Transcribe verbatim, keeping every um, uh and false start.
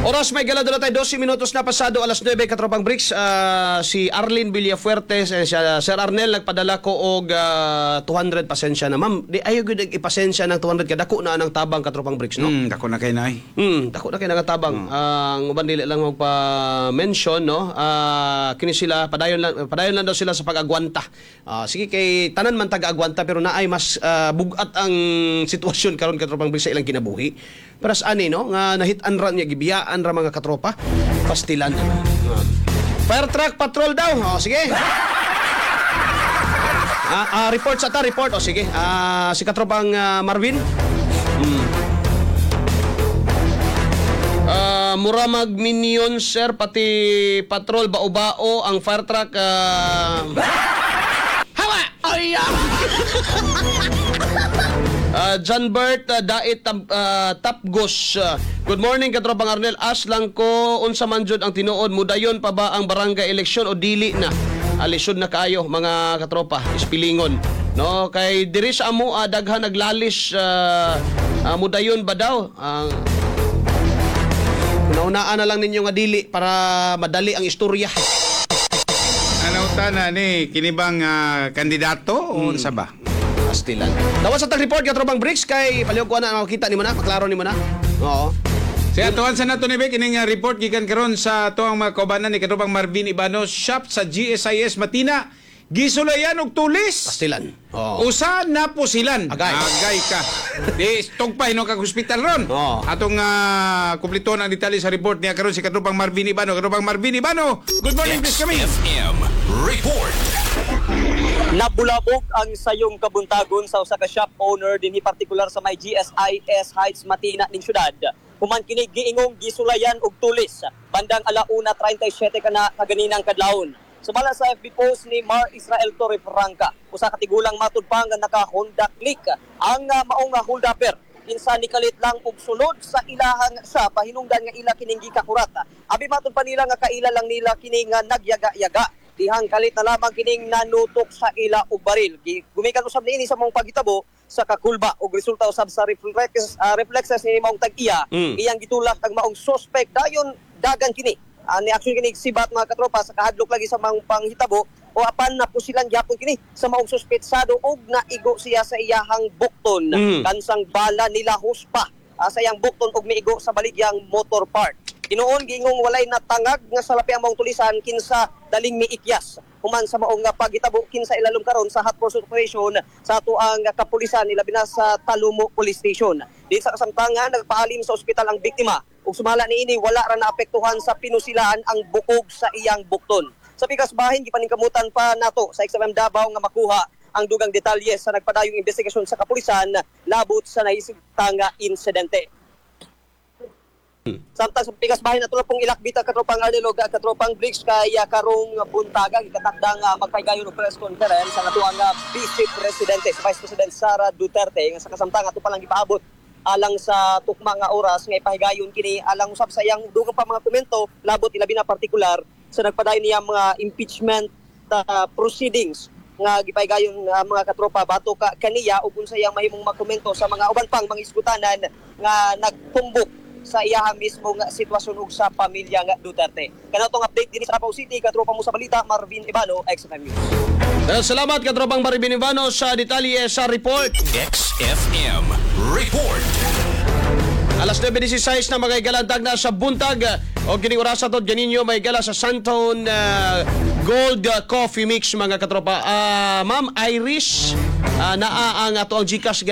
Oras may gala doon tayo dose minutos na pasado alas nuwebe, katropang Bricks. Ah, si Arlene Villafuerte, eh, siya, Sir Arnel, nagpadala ko og ah, two hundred. Pasensya na, ma'am, di ayo gyud ipasensya ng two hundred, kadako na ang tabang, katropang Bricks, no? Hmm, dako na kay nay. Hmm, dako na kay nagatabang. Ang uban dili lang magpa-mention, no. Ah, kini sila padayon lang, padayon lang daw sila sa pag-agwanta. Ah, sige, kay tanan man taga-agwanta, pero naay mas ah, bugat ang sitwasyon karon, katropang Bricks, sa ilang kinabuhi. Pero sa ani, no, nga nahit-an ra niya, gibiyaan ra mga katropa. Pastilan. Ah. Fire truck patrol daw. Oh, sige. Ah, ah, report sa ta, report. O sige. Ah, si katropang ah, Marvin. Ah, mura mag minion, sir, pati patrol bao-bao ang fire truck, ah. Hawa! Ay! Ah, John Bert uh, Dait Tam- ah, Tapgos. Ah, good morning, katropang Arnel. As lang ko unsa man jud ang tinuod, mudayon pa ba ang barangay election o dili na? Alisod na kaayo, mga katropa, ispilingon. No, kay diri sa amo ah, daghan naglalis, ah, ah, mudayon ba daw? Ang Naunaan na lang ninyo nga dili para madali ang istorya. Ano ta na ni kinibang ah, kandidato o unsa ba? Pastilan. Tawas sa tag-report, katropang Bricks, kay palihog ko na makita nimo na, maklaro nimo na. Oo. Siya tuwan sa nato ni Bek ining ah, report gikan karon sa tuang mga kaubanan ni katropang Marvin Ibano, shop sa G S I S Matina gisulayan og tulis. Pastilan. Oo. Usa na po silan. Agay. Agay ka. Di tugpay no kag hospital ron. Oo. Atong uh, kumpleto ang detalye sa report niya karon si katropang Marvin Ibano. Katropang Marvin Ibano. Good morning, please kami. X F M Report. Nabulabog ang sayong kabuntagon sa usa ka shop owner dinhi partikular sa may G S I S Heights, Matina ning syudad. Human kini giingong gisulayan og tulis bandang alauna trentay siyete kana kaganinang kadlawon. Sumala sa F B post ni Mar Israel Torrefranca, usa ka tigulang matud pa nga naka Honda Click ang uh, maong uh, holdupper kinsa nikalit lang og sulod sa ilahang sa pahinungdan nga ila kining gikakurat. Abi matud pa nila nga kaila lang nila kini nga nagyaga-yaga dihang kalit na lamang kining nanutok sa ila og baril. Gi- Gumikan usab niini sa maong paghitabo sa kakulba og resulta usab sa reflexes, uh, reflexes ni maong tag-iya, Mm. iyang gitulak ang maong suspect, dayon dagan kini. Uh, ni action kini sibat, mga katropa, sa kahadlok lagi sa maong panghitabo o apan napusilan gyapon kini sa maong suspetsado og naigo siya sa iyahang bukton. Mm. Kansang bala nila huspa ah, sa iyang bukton og miigo sa baligyang motor part. Tinuon giingong walay natangag nga salapi ang maong tulisan kinsa daling miikyas human sa maong nga paghitabo, kinsa ilalom karon sa hot pursuit operation sa ato ang kapulisan, ilabi na sa Talomo Police Station. Din sa kasamtangan, nagpaalim sa ospital ang biktima ug sumala niini, wala ra naapektuhan sa pinusilaan ang bukog sa iyang bukton. Sa pikas bahin, gipaningkamutan pa nato sa X F M Davao nga makuha ang dugang detalye sa nagpadayong investigasyon sa kapulisan labot sa nahisugtang insidente. Samtang sa pikas bahin, ato na pong ilakbita, katropang Arnel ug katropang Bricks, kay uh, karong buntaga gikatakdang uh, magpaygayon og press conference ang atoang uh, Vice Presidente, si Vice President Sara Duterte, nga sa kasamtang ato pa lang gipaabot alang sa tukma nga oras nga ipahigayon kini alang usab sa iyang dugang pa mga komento labot ilabi na partikular sa nagpadayon niya mga impeachment uh, proceedings nga gipahigayon uh, mga katropa, batok ka kaniya ug unsa iyang mahimong makomento sa mga uban pang mga iskutanan nga nagtumbok sa iyaha mismo nga sitwasyon ug sa pamilya nga Duterte. Kana tong update dinhi sa Davao City, katropa mo sa balita, Marvin Ibano, X F M News. Eh, salamat, katropang Marvin Ivano, sa detalye sa report. X F M Report. Alas nuwebe labing sais na, mga igalantag na sa buntag. O kining orasa to ganinyo may gala sa Santon uh, Gold uh, Coffee Mix, mga katropa. Ah, Ma'am Iris, uh, naa ang ato ang GCash.